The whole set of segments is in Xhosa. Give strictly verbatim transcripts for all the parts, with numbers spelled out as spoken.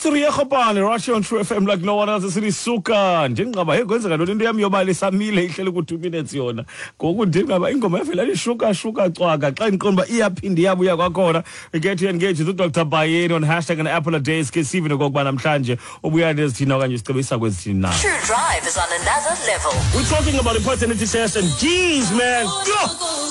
Siriyekgopane right here on True F M like no one else. Sirisuka ndingqaba hey kwenzeka ntoni into yam yobali samile ihleli ku two minutes yona ngoku ndingqaba ingoma yavela lishuka shuka cwaka xa ndiqonda uba iyaphinda iyabuya kwakhona. We get to engage with Doctor Bayeni on hashtag an apple a day ke sive nokokuba namhlanje ubuya nezithina okanye sicebisa kwezithina na. True Drive is on another level. We're talking about the paternity test and geez man,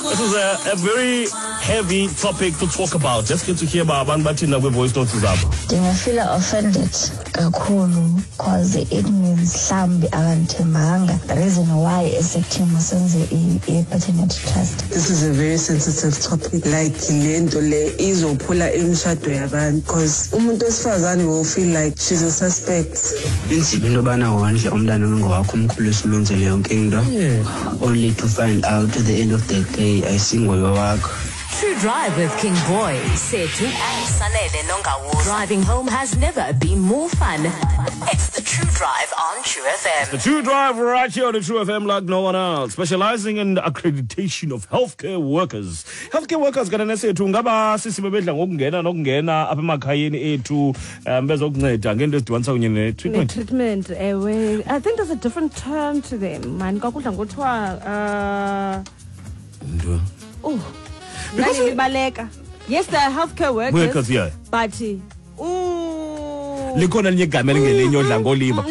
this is a, a very heavy topic to talk about. Let's get to hear about abantu bathina kwi-voice notes zabo. Ndingafila offended kakhulu cause it means mhlawumbi akandithembanga. The reason why esithi masenze i-paternity test. This is a very sensitive topic. Like lento le izophula imishado yabantu because umuntu wesifazane will feel like she's a suspect. Inzima into yobana wondle umntana ongowakho umkhulise umenzele yonke into. Only to find out at the end of the day ayisinguye wakho. True Drive with King Boy, Sethu and Sanele Nongawuza. Driving home has never been more fun. It's the True Drive on True F M. The True Drive right here on the True F M like no one else. Specializing in the accreditation of healthcare workers. Healthcare workers kana nesethu ngaba sisi bebedla ngokungena nokungena apha emakhayeni ethu um bezokunceda ngento ezidibanisa kunye ne-treatment. Ne-treatment, ewe. I think there's a different term to them. Man, kwakudla ngothiwa uh oh Because yes, they are healthcare workers. Workers, yeah. But ooh, likhona linye igama elingelinye odla ngoliba.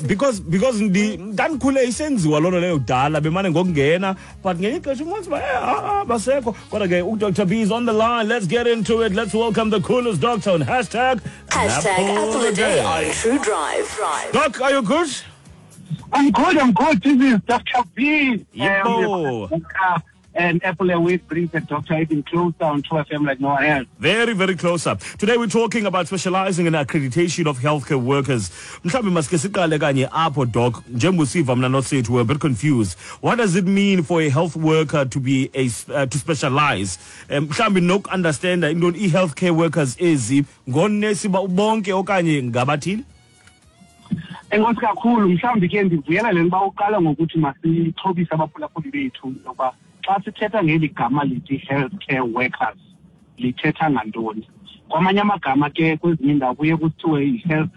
Because because ndi ndandikhule isenziwa loo nto leyo kudala bemane ngokungena but ngenye ixesha ufumanise uba ah basekho. Kodwa ke uDoctor B is on the line. Let's get into it. Let's welcome the coolest doctor on hashtag hashtag Apple a Day on True Drive. Doc, are you good? I'm good. I'm good. This is Doctor B. Yebo. Um, And Apple a Week brings the doctor even closer on True F M like no one else. Very, very closer. Today we're talking about specializing in accreditation of healthcare workers. Mhlawumbi masike siqale kanye apho, Doc. Njengoba mna nosethu we're a bit confused. What does it mean for a health worker to be a uh, to specialize? Mhlawumbi noku-understand into i-healthcare workers ezi ngonesi bonke okanye ngabathile? Enkosi kakhulu. Mhlawumbi ke ndivuyela le nto uqala ngokuthi masixhobise abaphulaphuli bethu ngoba xa sithetha ngeli gama lithi healthcare workers lithetha ngantoni. Kwamanye amagama ke kwezinye iindawo kuye kuthiwe yi-health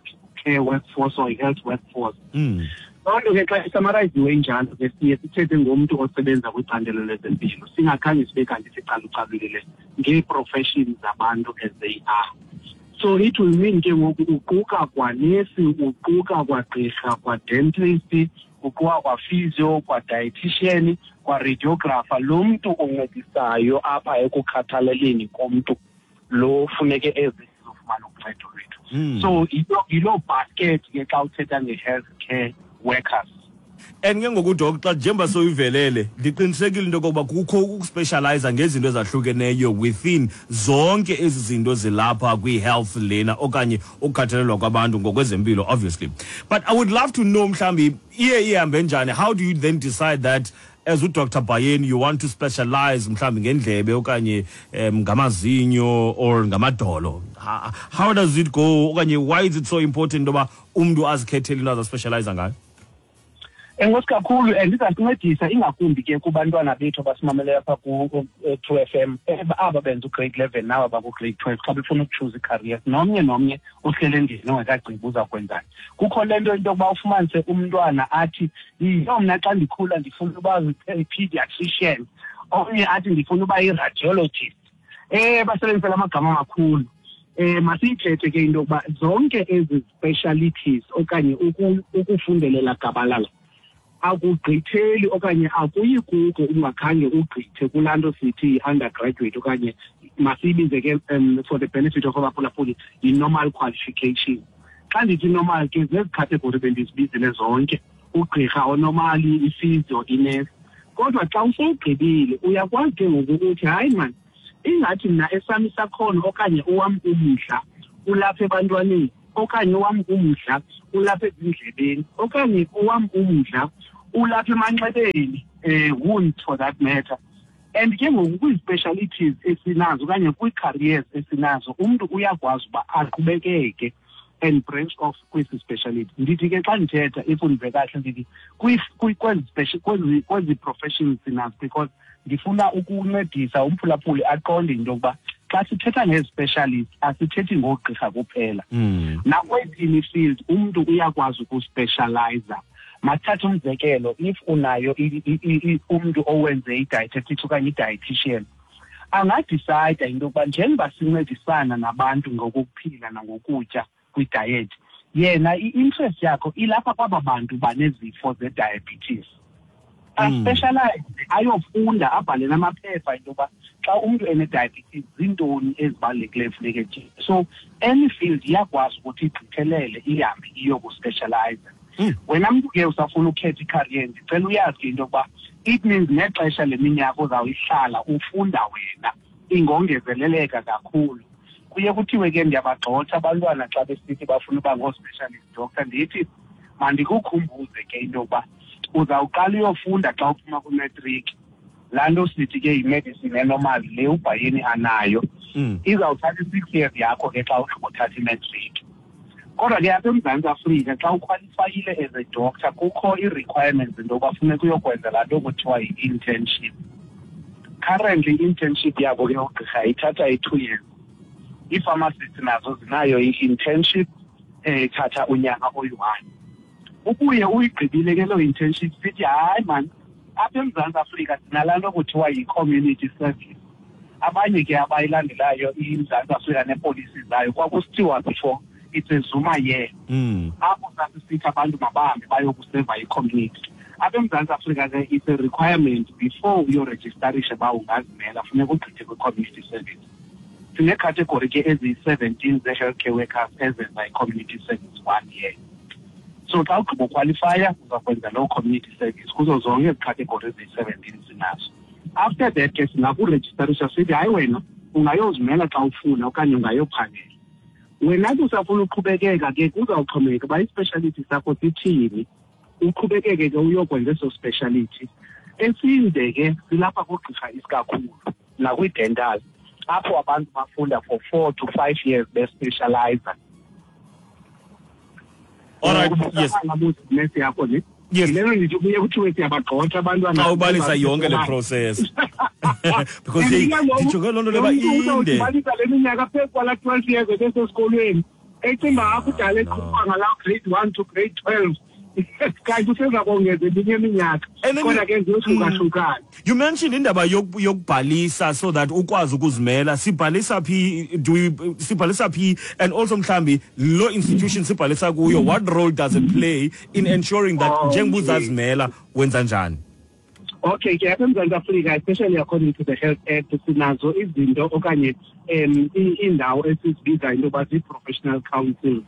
care workforce or i-health workforce. Loo nto ke xa isamarayiziwe injalo ke siye sithethe ngomntu osebenza kwicandelo lezempilo singakhange sibe kanti sicalucalulile ngee-professions zabantu as they are. So it will mean ke ngoku uquka kwanesi, uquka kwagqirha, kwa-dentist, uquka kwa-physio, kwa-dietitian, kwa-radiographer, lo mntu oncedisayo apha ekukhathaleleni komntu lo funeke ezizofumana uncedo lwethu. So yiloo basket ke xa uthetha nge-health care workers. And ke ngoku Doc, xa njengoba soyivelele ndiqinisekile into yokokuba kukho ukuspecialize ngezinto ezahlukeneyo within zonke ezi zinto zilapha kwi-health lena okanye ukukhathalelwa kwabantu ngokwezempilo obviously. But I would love to know mhlawumbi iye ihambe njani. How do you then decide that as uDoctor Bayeni you want to specialize mhlawumbi ngendlebe okanye um, ngamazinyo or ngamadolo? How, how does it go okanye why is it so important into yoba umntu azikhethele into azaspecialize ngayo? Enkosi kakhulu, and izasincedisa ingakumbi ke kubantwana bethu abasimameleyo apha ku-True F M aba benza ugrade eleven naba baku-grade twelve xa befuna ukutshuza i-career. Nomnye nomnye ohlele endlini ongekagqibi uza kwenzani. Kukho le nto into yokuba ufumanise umntwana athi yiyo mna xa ndikhula ndifuna uba yi-pediatrician, omnye athi ndifuna uba yi-radiologist. Eh basebenzisa amagama amakhulu. Eh masiyithethe ke into yokuba zonke ezi specialities okanye ukufundelela gabalala akugqitheli okanye akuyi kuko ungakhange ugqithe kulaa nto sithi yi-undergraduate okanye masiyibize ke um, for the benefit of abaphulaphuli yi-normal qualification. Xa ndithi normal ke zezi category bendizibizile zonke, ugqirha onormali, i-physio, inesi. Kodwa xa usowugqibile uyakwazi ke ngoku ukuthi hayi mani ingathi mna esam isakhono okanye owam umdla ulapha ebantwaneni okanye owam umdla ulapha ezindlebeni okanye owam umdla ulapha emanxebeni, eh wound for that matter. And ke ngoku kwii-specialities esinazo okanye kwii-careers esinazo umntu uyakwazi uba aqhubekeke and branch off kwesi speciality. Ndithi ke xa ndithetha if undive kahle ndithi kwezi kwezi professions sinazo because ndifuna ukuncedisa umphulaphuli aqonde into yokuba Xa sithetha ngezi-specialist asithethi ngoogqirha kuphela. Mm. Nakwezini i-field umntu uyakwazi ukuspecializa. Masithathe umzekelo, if unayo umntu owenze i-dietetics okanye i-dietitian, angadicida into yokuba njengoba sincedisana nabantu ngokuphila nangokutya kwi-diet, yena i-interest yakho ilapha kwaba bantu banezifo ze-diabetes. Aspecialize, ayofunda, abhale namaphepha into yoba xa umntu ene-diabetes zintoni ezibalulekileyo funeka etye. So any field iyakwazi ukuthi igqithelele ihambe iyokuspecialize. Wena mntu ke usafuna ukhetha i-career, ndicela uyazi ke into yokuba it means nexesha leminyaka ozawuyihlala ufunda wena ingongezeleleka kakhulu. Kuye kuthiwe ke ndiyabagxotha abantwana xa besithi bafuna uba ngoo-specialist doctor, ndithi mandikukhumbuze ke into yokuba uzawuqala uyofunda xa uphuma kwimatric. Laa nto sithi ke yimedicine enormal le ubhayeni anayo, izawuthatha i-six years yakho ke xa ugqibothatha imatric. Kodwa ke apha eMzantsi Afrika xa ukhwalifayile as a doctor kukho ii-requirements into yokuba funeka uyokwenza laa nto kuthiwa yi-internship. Currently i-internship yabo ke oogqirha ithatha i-two years. Ii-pharmacists nazo zinayo i-internship ethatha unyaka oyi-one. Ubuye uyigqibile ke loo internship, sithi hayi man, apha eMzantsi Afrika sinalaa nto kuthiwa yi-community service. Abanye ke abayilandelayo iMzantsi Afrika neepolisi zayo kwakusithiwa before it's a Zuma year. Apho sasisithi abantu mabahambe bayokuseva i-community. Apha eMzantsi Afrika ke it's a requirement before uyorejistarishe uba ungazimela funeka ugqithe kwi-community service. Sineekhategori ke eziyi-seventeen zee-healthcare workers ezenza i-community service one year. So xa ugqiba ukhwalifaya uza kwenza loo community service kuzo zonke ezi category eziyi-seventeen sinazo. After that ke singakurejistarisha sithi hayi wena ungayozimela xa ufuna okanye ungayophangela. Wena ke usafuna uqhubekeka ke kuzawuxhomekeka uba i-speciality sakho sithini, uqhubekeke ke uyokwenza eso speciality. Esinde ke silapha koogqirha isikakhulu nakwi-dental, apho abantu bafunda for four to five years bespecializa. All right, yes. Yes. Xa ubalisa yonke le process. Because ndijonge loo nto leba inde. Ubalisa le minyaka phezu kwala twelve years ebesesikolweni. Ecinga akudala eqhuba ngala grade one to grade twelve. Kanti useza kongeza eminye iminyaka. Kodwa ke ziyohlukahlukana. You mentioned indaba yokubhalisa so that ukwazi ukuzimela. Sibhalisa phi, do we sibhalisa phi, and also mhlambi lo institution sibhalisa kuyo, what role does it play in ensuring that njengoba uzazimela wenza njani? Okay, ke apha eMzantsi Afrika, especially according to the Health Act, sinazo izinto okanye um iindawo esizibiza into yoba zii-professional councils.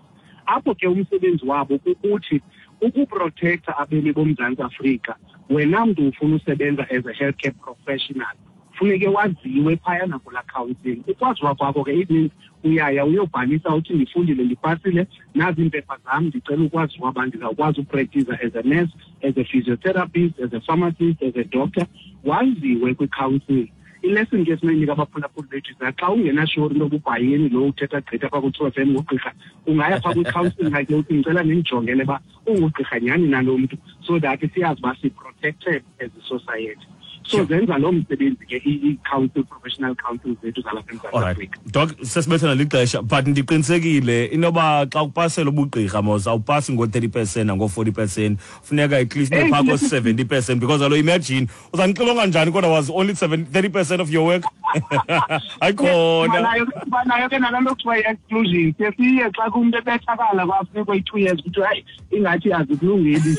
Apho ke umsebenzi wabo kukuthi ukuprotecta abemi boMzantsi Afrika. Wena mntu ufuna usebenza as a healthcare professional, funeke waziwe phayana kulaa council. Ukwaziwa kwakho ke it means uyaya uyobhalisa uthi ndifundile, ndipasile, nazi iimpepha zam, ndicela ukwaziwa uba ndizawukwazi upractiza as a nurse, as a physiotherapist, as a pharmacist, as a doctor. Waziwe kwi-council. I-lesson ke sinoyinika abaphulaphuli bethu is xa ungenashori into yoba ubhayeni lo uthetha gqitha phaa ku-True F M ngugqirha, ungaya phaa kwi-council like uthi ndicela nindijongele uba ungugqirha nyhani nalo mntu, so that siyazi uba si-protected as a society. So zenza loo msebenzi ke i-council, professional council zethu zalapha eMzantsi Afrika. Doc, sesibethana lixesha, but ndiqinisekile inoba xa upasela ubugqirha mos awupasi ngo-thirty percent nango-forty percent, funeka at least ube phaa ko-seventy percent, because alo imagine uzandixilonga njani kodwa was only thirty percent of your work. Ayikhona. Banayo ke nalaa nto kuthiwa yi-exclusion. Siye siye xa kumntu ebethakala kwafuneka i-two years kuthiwa hayi ingathi azikulungeli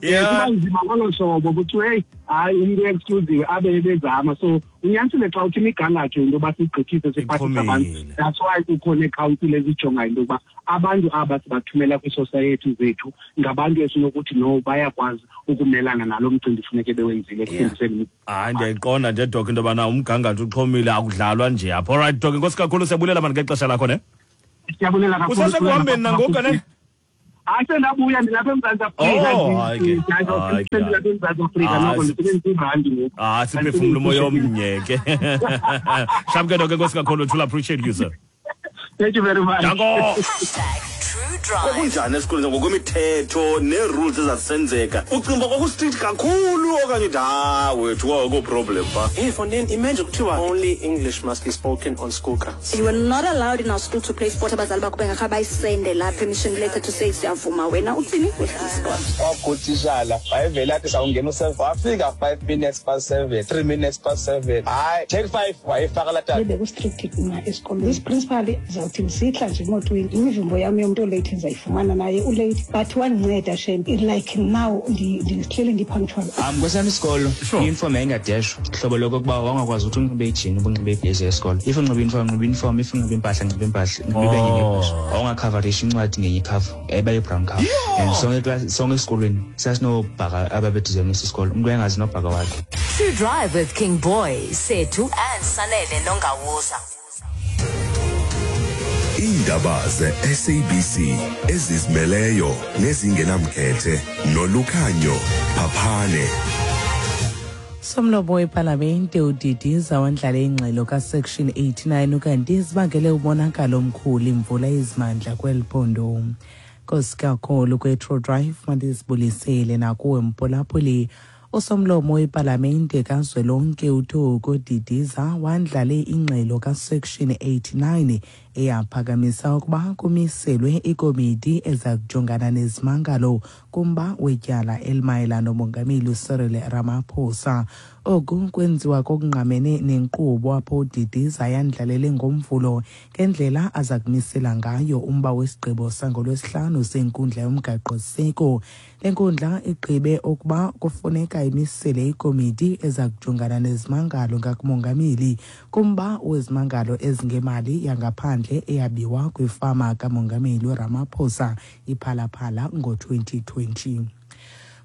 Yeah. Kuba nzima ngolo hlobo kuthiwa hey hayi umntu exclusive abe ebezama. So unyanisile xa uthi imigangatho into yoba sigqithise siphathise abantu. That's why kukho nee-council ezijongayo into yokuba abantu aba sibathumela kwiisosayeti zethu ngabantu esinokuthi no bayakwazi ukumelana nalo mcimbi funeke bewenzile ekufundiseni. Hayi, ndiyayiqonda nje Doc into yobana umgangatho uxhomile, akudlalwa nje apha. All right Doc, enkosi kakhulu, siyabulela mani ngexesha lakho ne. Siyabulela kakhulu. Usasekuhambeni nangoku ne? Hayi, sendabuya ndilapha eMzantsi Afrika. Oh, hayi ke. Ndilapha eMzantsi Afrika noko ndisebenzisa irandi ngoku. Ah, siphefumla umoya omnye ke. Sharp ke Doc, enkosi kakhulu, truly appreciate you sir. Thank you very much. Danko. Hashtag True Drive. Kwakunjani esikolweni ngokwemithetho nee-rules ezazisenzeka? Ucinga uba kwakustrict kakhulu okanye uthi ha wethu kwakukho problem pha? Hey, Fondeni, imagine kuthiwa only English must be spoken on school grounds. You were not allowed in our school to play sport. Abazali bakho bengakhe bayisende la permission letter to say siyavuma wena uthini udlala sport. Kwakutitshala wayevele athi sawungena u-seven, wafika five minutes past seven, three minutes past seven, hayi take five, wayefaka laa tata. Bekustrict mna esikolweni. This principal izawuthi ndisihla nje emotweni, imivumbo yam yomntu olate ndizayifumana naye ulate, but wandinceda shame. Like now ndihleli ndi-punctual. Um kwesam isikolo i-uniform yayingadeshwa, hlobo lokokuba wawungakwazi ukuthi unxibe ijini ubunxibe ibhezi yesikolo. If unxibe uniform, nxibe uniform, if unxibe impahla, nxibe impahla, nxibe enye ngebheshu. Wawungakhavarisha incwadi ngenye ikhava, yayiba yi-brown cover. And sonke sonke esikolweni sasinobhaka ababedizayinisa isikolo, umntu wayengazi nobhaka wakhe. True Drive with King Boy, Sethu and Sanele Nongawuza. Iindaba ze-S A B C ezizimeleyo nezingenamkhethe noLukhanyo Phaphane. Somlomo wepalamente uDidiza wandlale ingxelo kaSection eighty-nine ukanti zibangele umonakalo omkhulu imvula ezimandla kweli phondo. Nkosi kakhulu kwe-True Drive mandizibulisele nakuwe mphulaphuli. Usomlomo wepalamente kazwelonke uThoko Didiza wandlale ingxelo kaSection eighty-nine eyaphakamisa ukuba kumiselwe ikomiti eza kujongana nezimangalo kumba wetyala elimayelana nomongameli uCyril Ramaphosa. Oku kwenziwa kokungqamene nenkqubo apho uDidiza yandlalele ngomvulo ngendlela aza kumisela ngayo umba wesigqibo sangolwesihlanu senkundla yomgaqo-siseko. Le nkundla igqibe ukuba kufuneka imisele ikomiti eza kujongana nezimangalo ngakumongameli kumba wezimangalo ezingemali yangaphandle eyabiwa kwifama kamongameli uRamaphosa iPhalaphala ngo-twenty twenty.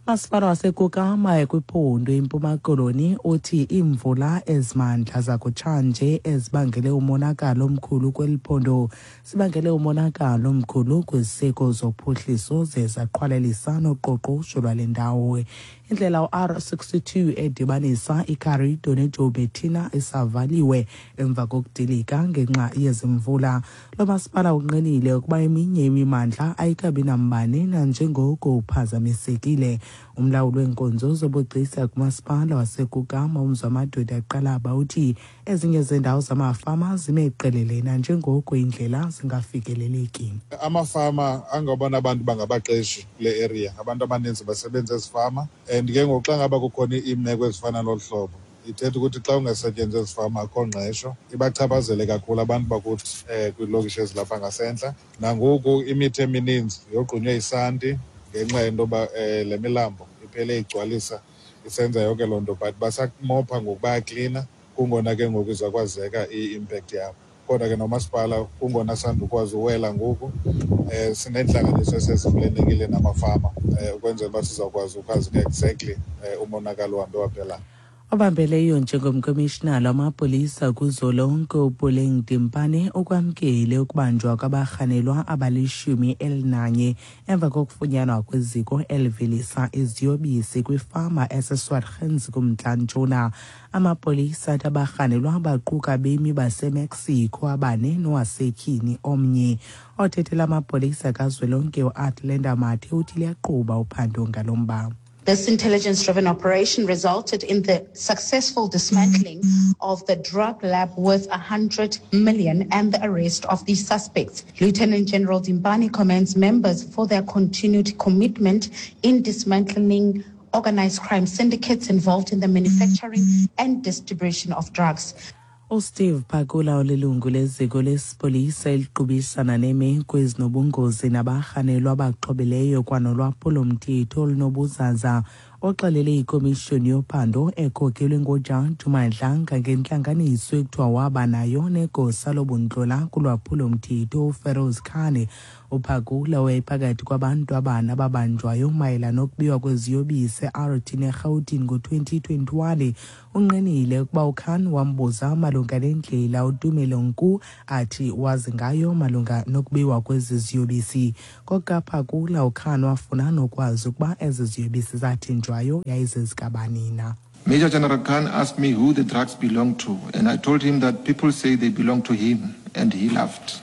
Masipala waseKukama kwiphondo iMpuma Koloni uthi iimvula ezimandla zakutshanje ezibangele umonakalo omkhulu kweli phondo zibangele umonakalo omkhulu kwiziseko zophuhliso ze zaqhwalelisa noqoqosho lwale ndawo. Indlela u-R sixty-two edibanisa iKarido neJoubertina isavaliwe emva kokudilika ngenxa yezimvula. Lo masipala unqinile ukuba eminye imimandla ayikabi nambane nanjengoko uphazamisekile. Umlawuli weenkonzo zobugcisa kumasipala waseKukama uMzwamadoda Qalaba uthi ezinye zendawo zamafama zime qelele nanjengoko indlela zingafikeleleki. Amafama angabona abantu bangabaqeshi kule area, abantu abaninzi basebenza ezifama, and ke ngoku xa ngaba kukhona iimeko ezifana nolu hlobo, ithetha ukuthi xa ungasetyenzwa ezifama akho ngqesho, ibachaphazele kakhulu abantu bakuthi um kwiilokishi ezilapha ngasentla. Nangoku imithi emininzi yogqunywe isanti ngenxa yento yoba um le milambo iphele igcwalisa isenza yonke loo nto, but basamopha ngoku bayaklina, kungona ke ngoku izakwazeka i-impact yabo. Kodwa ke nomasipala kungona sandukwazi uwela ngoku, um sineentlanganiso esezivulelekile namafama um ukwenzela uba sizawukwazi ukwazi ke exactly um umonakalo uhambe waphela. Obambeleyo njengomkomishinala wamapolisa kuzolonke uPuleng Dimpane ukwamkele ukubanjwa kwabarhanelwa abalishumi elinanye emva kokufunyanwa kweziko elivelisa iziyobisi kwifama eseSwartens kumntla-ntshona. Amapolisa athi abarhanelwa baquka bemi baseMexico abane nowasetyhini omnye. Othethela amapolisa kazwelonke uAtlenda Mathe uthi liyaqhuba uphando ngalo mba. This intelligence-driven operation resulted in the successful dismantling of the drug lab worth one hundred million and the arrest of the suspects. Lieutenant General Dimpane commends members for their continued commitment in dismantling organized crime syndicates involved in the manufacturing and distribution of drugs. uSteve Pakula olilungu leziko lesipolisa eliqubisana neemeko ezinobungozi nabarhanelwa abaxhobileyo kwanolwaphulomthetho olunobuzaza oxelele ikomishoni yophando ekhokelwe nguJaji Madlanga ngentlanganiso ekuthiwa waba nayo negosa lobuntlola kulwaphulomthetho uFeroz Khan. UPakula wayephakathi kwabantu abane ababanjwayo mayelana nokubiwa kweziyobisi e-Aeroton eRhawutini ngo-twenty twenty-one. Unqinile ukuba uKhan wambuza malunga nendlela uTumelo Nku athi wazi ngayo malunga nokubiwa kwezi ziyobisi. KokaPakula uKhan wafuna nokwazi ukuba ezi ziyobisi zathinjwayo yayizezikabanina. Major General Khan asked me who the drugs belonged to, and I told him that people say they belong to him, and he laughed.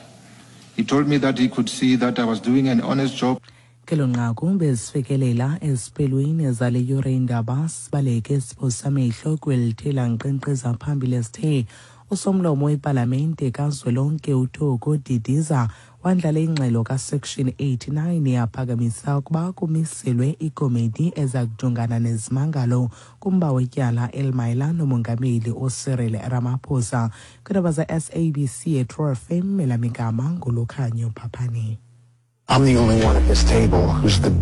He told me that he could see that I was doing an honest job. Kelo nqaku bezifikelela eziphelweni zale yure indaba. Sibaleke siphosa amehlo kwelithela nkqenkqeza phambili. Sithe usomlomo wepalamente kazwelonke uThoko Didiza wandlala ingxelo kaSection eighty-nine yaphakamisa ukuba kumiselwe ikomiti eza kujongana nezimangalo kumba wetyala elimayela nomongameli uCyril Ramaphosa. Kwiindaba za-S A B C eTrue F M, elamigama nguLukhanyo Phaphane. I'm the only one at this table who's the